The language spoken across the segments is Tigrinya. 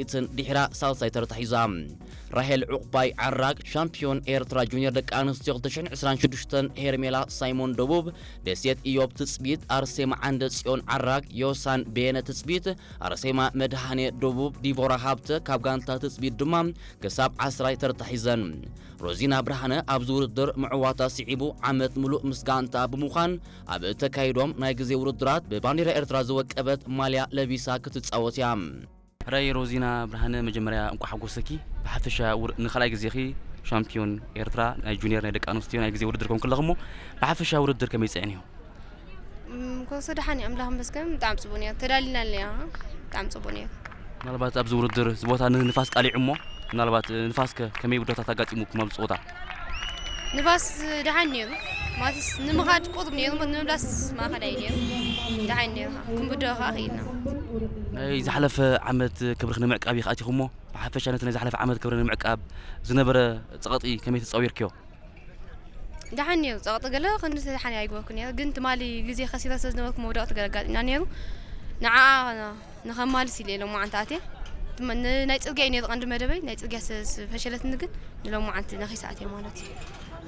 ኢትን ድሕራ ሳልሳይ ተርታ ሒዛ። ራሄል ዑቕባይ ዓራግ ሻምፒዮን ኤርትራ ጁኒየር ደቂ ኣንስትዮ ክልተ ሽሕን ዕስራን ሽዱሽተን፣ ሄርሜላ ሳይሞን ደቡብ፣ ደሴት ኢዮብ ትጽቢት፣ ኣርሴማ ዓንደ ጽዮን ዓራግ፣ ዮሳን በየነ ትጽቢት፣ ኣርሴማ መድሃኔ ደቡብ፣ ዲቦራ ሃብተ ካብ ጋንታ ትጽቢት ድማ ክሳብ ዓስራይ ተርታ ሒዘን። ሮዚና ብርሃነ ኣብዚ ውድድር ምዕዋታ ስዒቡ ዓመት ምሉእ ምስ ጋንታ ብምዃን ኣብ እተካይዶም ናይ ግዜ ውድድራት ብባንዲራ ኤርትራ ዝወቀበት ማልያ ለቢሳ ክትጻወት እያ። ሕራይ ሮዚና ብርሃነ፣ መጀመርያ እንቋዕ ሓጎሰኪ። ብሓፈሻ ውር-፣ ንኻልኣይ ግዜኺ ሻምፒዮን ኤርትራ ናይ ጁኒየር ናይ ደቂ ኣንስትዮ ናይ ግዜ ውድድር ኮንክለኹ እሞ፣ ብሓፈሻ ውድድር ከመይ ጸኒሑ? እም፣ ኮሶ ደሓን እዩ፣ ኣምላኽ ይመስገን፣ ብጣዕሚ ጽቡቕ ነይሩ። ተዳሊና ኣለና፣ ብጣዕሚ ጽቡቕ ነይሩ። ምናልባት ኣብዚ ውድድር እዚ ቦታ ንንፋስ ቃሊዑ እሞ፣ ምናልባት፣ እ፣ ንፋስከ ከመይ ውዳታት ኣጋጢሙኩም ኣብዚ ጸወታ? ንፋስ ደሓን ነይሩ፣ ማለትስ ንምኻድ ቁሩብ ነይሩ፣ ንምምላስ ማእኸላይ ነይሩ። ደሓን ነይሩ፣ ክንብድሆ ከኣ ኽኢልና። ናይ ዝሓለፈ ዓመት ክብርኺ ንምዕቃብ ኢኺ ኣቲኹሞ። ብሓፈሻ ነቲ ናይ ዝሓለፈ ዓመት ክብሪ ንምዕቃብ ዝነበረ ጸቕጢ ከመይ ተጻዊርክዮ? ደሓን ነይሩ፣ ጸቕጢ ገለ ክንዲ ደሓን ኣይገበርኩን ነይረ፣ ግን ትማሊ ግዜ ከሲረ ስለ ዝነበርኩ መውደቕቲ ገለ ኣጋጢምና ነይሩ። ንዓኣ ንኸማልስ ኢለ ሎማዓንቲ ኣትየ። ትም-፣ ን-፣ ናይ ጽርግያ እዩ ነይሩ ቀንዲ መደበይ፣ ናይ ጽርግያ ስለ ዝፈሸለትኒ ግን ንሎማዓንቲ ነኺሰ ኣትየ ማለት እዩ።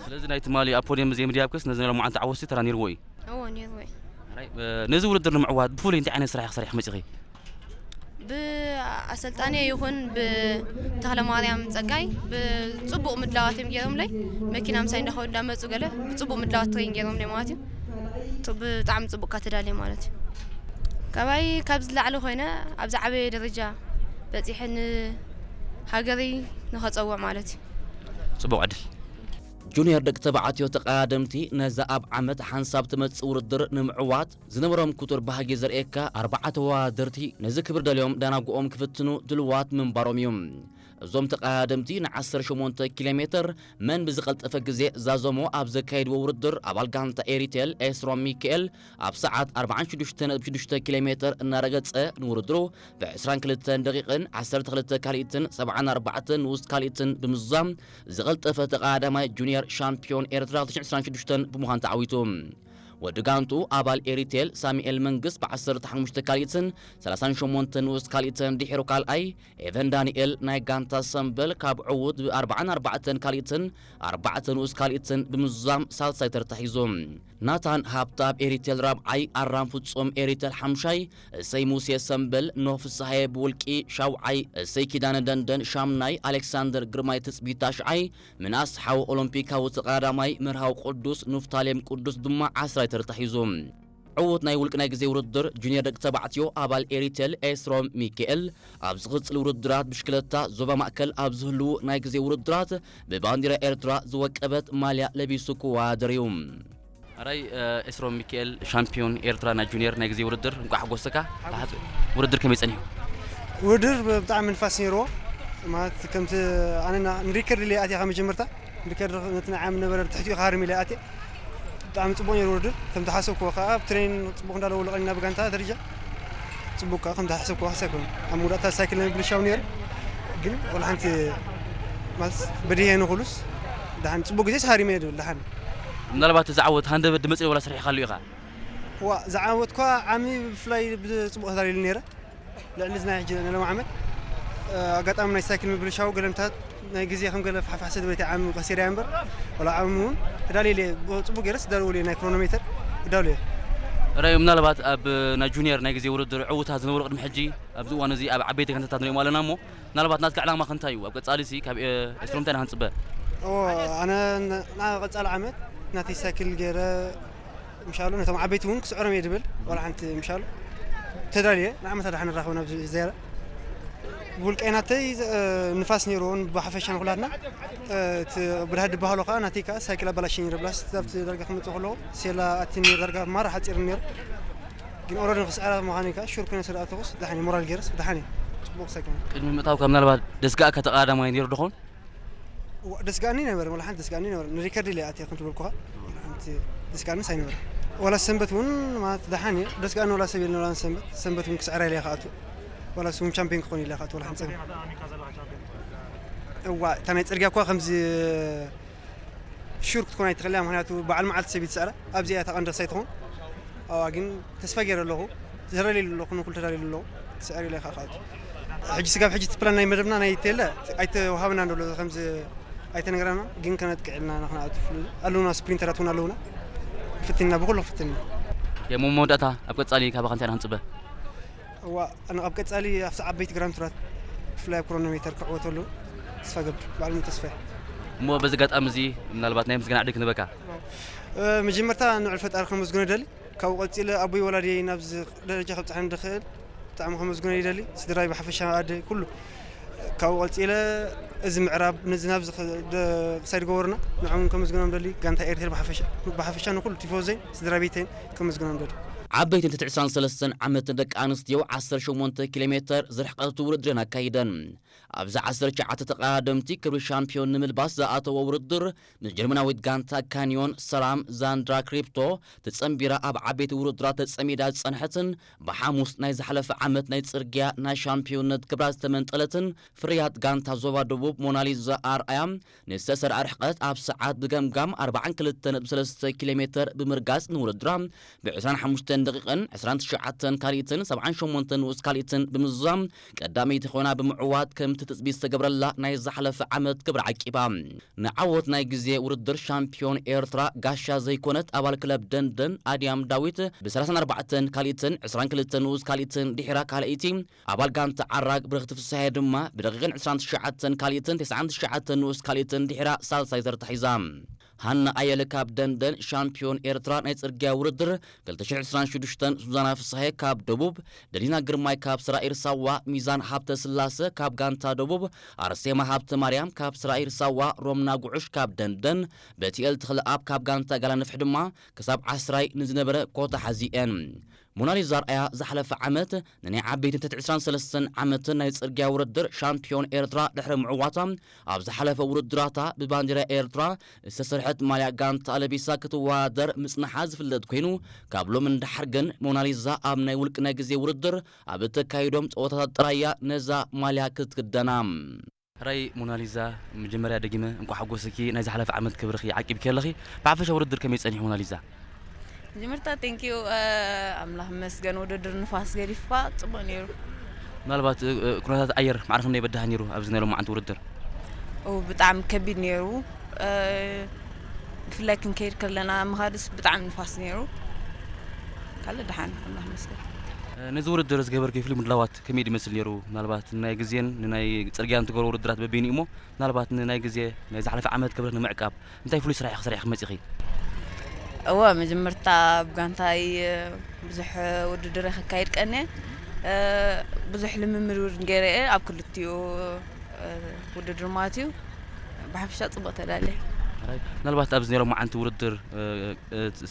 ስለዚ ናይ ትማሊ ኣብ ፖድየም ዘይምድያብክስ ነዚ ናይ ሎማዓንቲ ዓወትሲ ተራ ነይርዎ እዩ? እዎ፣ ነይርዎ እዩ። ሕራይ፣ እ፣ ነዚ ውድድር ንምዕዋት ብፍሉይ እንታይ ዓይነት ስራሕ ኢኺ ሰሪሕኪ መጺኺ? ብኣሰልጣኒ ይኹን ብተኽለማርያም ጸጋይ ብጽቡቕ ምድላዋት እዮም ገይሮምለይ። መኪና ምሳይ እንዳኸዱ እንዳመጹ ገለ ብጽቡቕ ምድላዋት ትሬን ገይሮምለይ ማለት እዩ። ቱ-፣ ብጣዕሚ ጽቡቕ እካ ተዳልየ ማለት እዩ። ካባይ ካብዚ ላዕሊ ኮይነ ኣብዚ ዓበየ ደረጃ በጺሐ ንሃገረይ ንኸጸውዕ ማለት እዩ። ጽቡቕ ዕድል። ጁኒየር ደቂ ተባዕትዮ ተቐዳደምቲ ነዛ ኣብ ዓመት ሓንሳብ ትመጽእ ውድድር ንምዕዋት ዝነበሮም ክቱር ባህጊ ዘርእየካ ኣርባዓ ተወዳደርቲ ነዚ ክብሪ ደልዮም ዳናጉኦም ክፍትኑ ድልዋት ምንባሮም እዩ። እዞም ተቐዳደምቲ ን ዓሰርተ ሸሞንተ ኪሎ ሜትር መን ብዝቐልጠፈ ግዜ ዛዘሞ ኣብ ዘካየድዎ ውድድር ኣባል ጋንታ ኤሪቴል ኤስሮም ሚካኤል ኣብ ሰዓት ኣርባዓን ሽዱሽተን ነጥቢ ሽዱሽተ ኪሎ ሜትር እናረገጸ ንውድድሩ ብ ዕስራን ክልተን ደቂቕን ዓሰርተ ክልተ ካልኢትን ሰብዓን ኣርባዕተን ንኡስ ካልኢትን ብምዝዛም ዝቐልጠፈ ተቐዳዳማይ ጁኒየር ሻምፒዮን ኤርትራ ክልተ ሽሕን ዕስራን ሽዱሽተን ብምዃን ተዓዊቱ። ወዲ ጋንቱ ኣባል ኤሪቴል ሳሙኤል መንግስ ብ ዓሰርተ ሓሙሽተ ካልኢትን ሰላሳን ሸሞንተ ንኡስ ካልኢትን ድሒሩ ካልኣይ፣ ኤቨን ዳንኤል ናይ ጋንታ ሰምበል ካብ ዕዉት ብ ኣርባዓን ኣርባዕተን ካልኢትን ኣርባዕተ ንኡስ ካልኢትን ብምዝዛም ሳልሳይ ተርታ ሒዙ። ናታን ሃብታብ ኤሪቴል ራብዓይ፣ ኣራም ፍጹም ኤሪቴል ሓምሻይ፣ እሰይ ሙሴ ሰምበል፣ ኖህ ፍስሃየ ብውልቂ ሻውዓይ፣ እሰይ ኪዳነ ደንደን ሻምናይ፣ ኣሌክሳንደር ግርማይ ትጽቢት ታሽዓይ፣ ምናስ ሓው ኦሎምፒካዊ ተቐዳዳማይ መርሃዊ ቅዱስ ኑፍታሌም ቅዱስ ድማ ዓስራይ ተርታ ሒዙ። ዕዉት ናይ ውልቂ ናይ ግዜ ውድድር ጁኒየር ደቂ ተባዕትዮ ኣባል ኤሪቴል ኤስሮም ሚካኤል፣ ኣብ ዝቕጽል ውድድራት ብሽክለታ ዞባ ማእከል ኣብ ዝህልዉ ናይ ግዜ ውድድራት ብባንዲራ ኤርትራ ዝወቀበት ማልያ ለቢሱ ክወዳደር እዩ። ኣራይ፣ እ፣ ኤስሮም ሚካኤል ሻምፒዮን ኤርትራ ናይ ጁኒየር ናይ ግዜ ውድድር እንቋዕ ሓጎሰካ። ብሓ-፣ ውድድር ከመይ ጸኒሑ? ውድድር ብጣዕሚ ንፋስ ነይርዎ። ማለት ከምቲ ኣነ ና-፣ ንሪከርድ ኢለ ኣትየ ካብ መጀመርታ። ንሪከርድ ነቲ ናይ ዓም ነበረ ትሕቲኡ ክሃርም ኢለ ኣትየ። ብጣዕሚ ጽቡቕ ነይሩ ውድድር። ከም ዝሓሰብክዎ ከኣ ኣብ ትሬን ጽቡቕ እንዳለወሉ ቀኒና ብጋንታ ደረጃ። ጽቡቕ ከኣ ከም ዝሓሰብክዎ ክሳይኮን። ኣብ መውዳእታ ሳይክል ናይ ብልሻው ነይሩ። ግን ወላ ሓንቲ ማለት በዲሄ ንኹሉስ ደሓን ጽቡቕ ግዜ ሃሪመ እየ ዝብል ደሓን። ምናልባት እዚ ዓወት ሃንደበት ድመጽእ ወላ ሰሪሕካሉ ኢኻ? ዋ፣ ዝዓወትኳ ዓሚ ብፍላይ ብጽቡቕ ተዳልዩሉ ነይረ። ልዕሊ እዚ ናይ ሕጂ ናይ ሎሚ ዓመት፣ እ፣ ኣጋጣሚ ናይ ሳይክል ምብልሻው ገለምታት ናይ ግዜ ከም ገለ ፋሕፋሕ ስለ ዝበለት ዓሚ ከሲረ እያ እምበር፣ ወላ ዓሚ እውን ተዳልየ እየ። ጽቡቕ ገይረስ ተዳልወሉ እየ፣ ናይ ክሮኖሜተር ተዳልየ። ራዩ፣ ምናልባት ኣብ ናይ ጁኒየር ናይ ግዜ ውድድር ዕውታት ዝነበሩ ቅድሚ ሕጂ ኣብዚ እዋን እዚ ኣብ ዓበይቲ ጋንታታት ንሪኦም ኣለና እሞ፣ ምናልባት ናትካ ዕላማ ከ እንታይ እዩ? ኣብ ቀጻሊ ሲ ካብ፣ እ፣ ኤስትሮም እንታይ ኢና ክንጽበ? ኦ፣ ኣነ ን-፣ ናብ ቀጻሊ ዓመት ናተይ ሳይክል ገይረ፣ ምሻሉ ነቶም ዓበይቲ እውን ክስዕሮም እየ ድብል፣ ዋላ ሓንቲ ምሻሉ ተዳልየ፣ ንዓመታ ደሓን ንራኸብ ናብዚ ዝያዳ። ብውልቀይ ናተይ፣ እ፣ ንፋስ ነይርዎን ብሓፈሻ ንኹላትና፣ እ፣ እቲ ብድሃ ድበሃሎ ከዓ ናተይ ከዓ ሳይክል ኣበላሸ ነይረ፣ ብላስ ኣብቲ ዳርጋ ክመፅእ ከለኹ ሴላ ኣትኒ ነይሩ፣ ዳርጋ ማራ ሓፂር ነይሩ። ግን ኦረዲ ንክስዕራ ምዃኑ ከዓ ሹር ኮይነ ስለ ኣተኹስ ደሓን እየ፣ ሞራል ገይረስ ደሓን እየ። ፅቡቕ ሳይክል። ቅድሚ ምእታውካ ምናልባት ደስጋእካ ተቐዳዳማይ ነይሩ ዶ ኸውን? ዋ፣ ደስጋእኒ ነበረ፣ ወላ ሓንቲ ደስጋእኒ ነበረ። ንሪከርድ ኢለ ኣትየ፣ ከም ትበልኩኻ፣ ሓንቲ ደስጋእንስ ኣይነበረ። ወላ ሰንበት እውን ማለት ደሓን እየ፣ ደስጋእኒ ወላ ሰብ የለን፣ ወላ ሰንበት፣ ሰንበት እውን ክስዕራ ኢለ እየ ክኣቱ። ወላ ስውን ቻምፒዮን ክኾን ኢለ እየ ክኣቱ፣ ወላ ሓንቲ ጸገም። እዋ፣ እታ ናይ ጽርግያ እኳ ከምዚ ሹር ክትኮን ኣይትኽእልን እያ፣ ምኽንያቱ በዓል መዓልቲ ሰብ እዩ ዝስዕራ። ኣብዚኣ እያ እታ ቀንዲ ክሳይ ትኾን። ኣዋ፣ ግን ተስፋ ገይረ ኣለኹ፣ ተደልየ ኣለኹ፣ ንኹሉ ተዳልየ ኣለኹ፣ ክስዕር ኢለ እየ ክኣቱ። ሕጂ ስጋብ ሕጂ እቲ ፕላን ናይ መደብና ናይ ቴለ ኣይተዋሃበናን ዘሎ፣ ከምዚ ኣይተነገረና፣ ግን ከነጥቅዕ ኢልና ኢና ክንኣቱ። ኣለውና፣ ስፕሪንተራት እውን ኣለውና። ፍትና ብኩሉ ፍትና። የሞ መወዳእታ ኣብ ቀጻሊ ካባኻ እንታይ ኢና ክንጽበ? እዋ፣ ኣነ ኣብ ቀጻሊ ኣብቲ ዓበይቲ ግራንድ ቱራት ብፍላይ ኣብ ክሮኖሜተር ክዕወተሉ ተስፋ ገብር፣ ባዕሉ ተስፋ። እሞ በዚ ኣጋጣሚ እዚ ምናልባት ናይ ምስጋና ዕድል ክንበካ። መጀመርታ ንዕል ፈጣሪ ከመስግኖ ይደሊ። ካብኡ ቀጺለ ኣቦይ ወላዲየይ ናብዚ ደረጃ ከብጽሐን ድኽእል ብጣዕሚ ከመስግኖ ይደሊ። ስድራይ ብሓፈሻ ኣደ ኩሉ። ካብኡ ቀጺለ እዚ ምዕራብ ነዚ ናብዚ ክሳይ ዝገበሩና ንዕኦም ከመስግኖም ደሊ። ጋንታ ኤርትራ ብሓፈሻ፣ ብሓፈሻ ንኩሉ ቲፎዘይን ስድራ ቤተይን ከመስግኖም ደሊ። ዓበይትን ትሕቲ ዕስራን ሰለስተን ዓመትን ደቂ ኣንስትዮ ዓሰርተ ሸሞንተ ኪሎ ሜተር ዝርሕቀት ውድድረን ኣካይደን። ኣብዚ ዓሰርተ ትሽዓተ ተቐዳደምቲ ክብሪ ሻምፒዮን ንምልባስ ዝኣተወ ውድድር፣ ምስ ጀርመናዊት ጋንታ ካንዮን ሰላም ዛንድራ ክሪፕቶ ተጸንቢራ ኣብ ዓበይቲ ውድድራት ተጸሚዳ ዝጸንሐትን ብሓሙስ ናይ ዝሓለፈ ዓመት ናይ ጽርግያ ናይ ሻምፒዮንነት ክብራ ዝተመንጠለትን ፍርያት ጋንታ ዞባ ደቡብ ሞናሊዛ ኣርኣያ ንዝተሰርዐ ርሕቀት ኣብ ሰዓት ብገምጋም ኣርባዓን ክልተን ነጥቢ ሰለስተ ኪሎ ሜተር ብምርጋጽ ንውድድራ ብ ዕስራን ሓሙሽተን ደቂቕን ዕስራን ትሽዓተን ካልኢትን ሰብዓን ሸሞንተን ንኡስ ካልኢትን ብምዝዛም ቀዳመይቲ ኮይና ብምዕዋት ከምቲ ትጽቢት ዝተገብረላ ናይ ዝሓለፈ ዓመት ክብሪ ዓቂባ። ንዓወት ናይ ግዜ ውድድር ሻምፒዮን ኤርትራ ጋሻ ዘይኮነት ኣባል ክለብ ደንደን ኣድያም ዳዊት ብ ሰላሳን ኣርባዕተን ካልኢትን ዕስራን ክልተን ንኡስ ካልኢትን ድሒራ ካልኣይቲ ኣባል ጋንታ ዓራግ ብርኽቲ ፍስሃየ ድማ ብደቂቕን ዕስራን ትሽዓተን ካልኢትን ተስዓን ትሽዓተን ንኡስ ካልኢትን ድሒራ ሳልሳይ ተርታ ሒዛ። ሃና ኣየለ ካብ ደንደን ሻምፒዮን ኤርትራ ናይ ጽርግያ ውድድር ክልተ ሽሕ ዕስራን ሽዱሽተን፣ ሱዛና ፍስሃየ ካብ ደቡብ፣ ደሊና ግርማይ ካብ ስራኢር ሳዋ፣ ሚዛን ሃብተ ስላሰ ካብ ጋንታ ደቡብ፣ ኣርሴማ ሃብተ ማርያም ካብ ስራኢር ሳዋ፣ ሮምና ጉዑሽ ካብ ደንደን፣ በቲኤል ተኽለኣብ ካብ ጋንታ ጋላንፍሕ ድማ ክሳብ ዓስራይ ንዝነበረ ኮታ ሓዚኤን። ሞናሊዛ ኣርኣያ ዝሓለፈ ዓመት ንናይ ዓበይትን ትሕቲ ዕስራን ሰለስተን ዓመትን ናይ ጽርግያ ውድድር ሻምፒዮን ኤርትራ ድሕሪ ምዕዋታ፣ ኣብ ዝሓለፈ ውድድራታ ብባንዲራ ኤርትራ ዝተሰርሐት ማልያ ጋንታ ለቢሳ ክትወዳደር ምጽንሓ ዝፍለጥ ኮይኑ፣ ካብ ሎሚ ንደሓር ግን ሞናሊዛ ኣብ ናይ ውልቂ ናይ ግዜ ውድድር ኣብ እተካይዶም ጸወታታት ጥራይ እያ ነዛ ማልያ ክትክደና። ሕራይ ሞናሊዛ፣ መጀመርያ ደጊመ እንኳዕ ሓጎሰኪ፣ ናይ ዝሓለፈ ዓመት ክብርኺ ዓቂብኪ ኣለኺ። ብሓፈሻ ውድድር ከመይ ጸኒሑ ሞናሊዛ? መጀመርታ ቴንኪዩ፣ ኣምላኽ ይመስገን፣ ውድድር ንፋስ ገዲፍካ ጽቡቕ ነይሩ። ምናልባት ኩነታት ኣየር ማዕረ ክንደይ በዳህ ነይሩ ኣብዚ ናይ ሎማዓንቲ ውድድር? ብጣዕሚ ከቢድ ነይሩ። ብፍላይ ክንከይድ ከለና ምኻድስ ብጣዕሚ ንፋስ ነይሩ። ካልእ ደሓን፣ ኣምላኽ ይመስገን። ነዚ ውድድር ዝገበርክዮ ፍሉይ ምድላዋት ከመይ ድመስል ነይሩ? ምናልባት ንናይ ግዜን ንናይ ጽርግያን ትገብሮ ውድድራት በበይኑ እሞ፣ ምናልባት ንናይ ግዜ ናይ ዝሓለፈ ዓመት ክብረት ንምዕቃብ እንታይ ፍሉይ ስራሕ ኢኺ ሰሪሕኺ መጺኺ? እወ፣ መጀመርታ ኣብ ጋንታይ ብዙሕ ውድድር ከካይድ ቀንየ። ብዙሕ ልምምድ እውን ገይረ እየ ኣብ ክልቲኡ ውድድር ማለት እዩ። ብሓፈሻ ጽቡቕ ተዳልየ። ምናልባት ኣብዚ ናይ ሎማዓንቲ ውድድር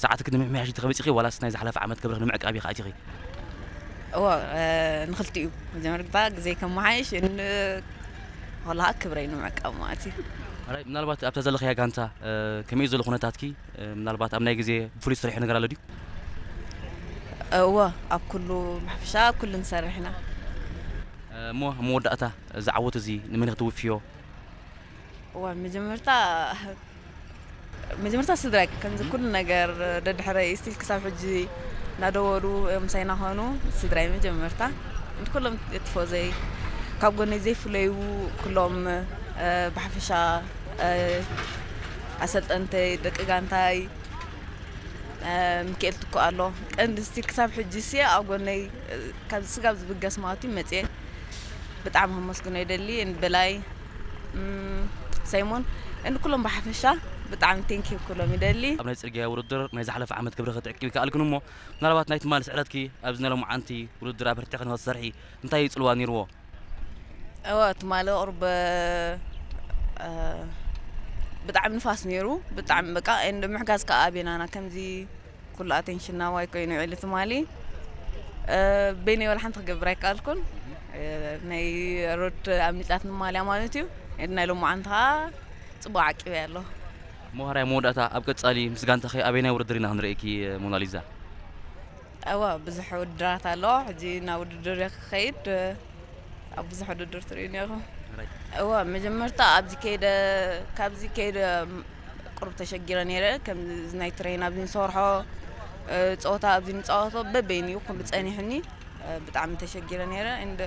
ሰዓትኪ ንምምሕያሽ ኢኺ መጺኺ ዋላስ ናይ ዝሓለፈ ዓመት ክብርኺ ንምዕቃብ ኢኺ ኣቲኺ? እወ፣ ንኽልቲኡ። መጀመርታ ግዜ ከመሓይሽ፣ ን-፣ ወላ ክብረይ ንምዕቃብ ማለት እዩ። ምናልባት ኣብታ ዘለኽያ ጋንታ ከመይ ዘሎ ኩነታትኪ? ምናልባት ኣብ ናይ ግዜ ብፍሉይ ዝሰርሖ ነገር ኣሎ ድዩ? እወ፣ ኣብ ኩሉ ብሓፈሻ ኣብ ኩሉ ንሰርሕ ኢና። እሞ ኣብ መወዳእታ እዚ ዓወት እዚ ንመን ኢኺ ትውፍዮ? እዋ፣ መጀመርታ መጀመርታ ስድራይ፣ ከምዚ ኩሉ ነገር ደድሕረይ ስቲል ክሳብ ሕጂ እናደወሉ ምሳይ እናኾኑ፣ ስድራይ መጀመርታ፣ ንኩሎም ቲፎዘይ፣ ካብ ጎነይ ዘይፍለዩ ኩሎም፣ ብሓፈሻ ኣሰልጠንተይ፣ ደቂ ጋንታይ፣ ሚካኤል ትኩ ኣሎ። ቀንዲ ስቲል ክሳብ ሕጂ ሲ ኣብ ጎነይ፣ ካብ ስጋብ ዝብገስ ማለት እዩ መፅየ። ብጣዕሚ ከመስግኖ ይደሊ። ንበላይ፣ ሳይሞን፣ ንኩሎም ብሓፈሻ ብጣዕሚ ቴንኪዩ ኩሎም ይደሊ። ኣብ ናይ ፅርግያ ውድድር ናይ ዝሓለፈ ዓመት ክብሪ ክትዕቅብ ይከኣልክን እሞ፣ ምናልባት ናይ ትማሊ ስዕረትኪ ኣብዚ ናይ ሎማዓንቲ ውድድር ኣበርቲዕኺ ንኽትሰርሒ እንታይ ፅልዋ ነይርዎ? እወ፣ ትማሊ ቁሩብ፣ እ፣ ብጣዕሚ ንፋስ ነይሩ። ብጣዕሚ በቃ፣ እንድ ምሕጋዝ ከኣ ኣቤናና ከምዚ ኩሉ ኣቴንሽን ናባይ ኮይኑ ውዒሉ ትማሊ። እ፣ በይነይ ወላ ሓንቲ ክገብር ኣይከኣልኩን። እ፣ ናይ ሮድ ኣምሊጣትኒ ማልያ ማለት እዩ። እንድ ናይ ሎማዓንቲ ከኣ ጽቡቕ ዓቂበያ ኣለኹ። እሞ ሕራይ መወዳእታ፣ ኣብ ቀጻሊ ምስ ጋንታኺ ኣበየናይ ውድድር ኢና ክንርእየኪ ሞናሊዛ? እወ፣ ብዙሕ ውድድራት ኣሎ። ሕጂ ናብ ውድድር እየ ክኸይድ። ኣብ ብዙሕ ውድድር ትርእዩኒ ኢኹም። እወ፣ መጀመርታ ኣብዚ ከይደ፣ ካብዚ ከይደ ቁሩብ ተሸጊረ ነይረ። ከምዚ ናይ ትሬን ኣብዚ ንሰርሖ፣ እ፣ ጸወታ ኣብዚ ንጻወቶ በበይኑ እዩ ኩሉ ጸኒሕኒ። እ፣ ብጣዕሚ ተሸጊረ ነይረ። እንድ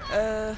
أه،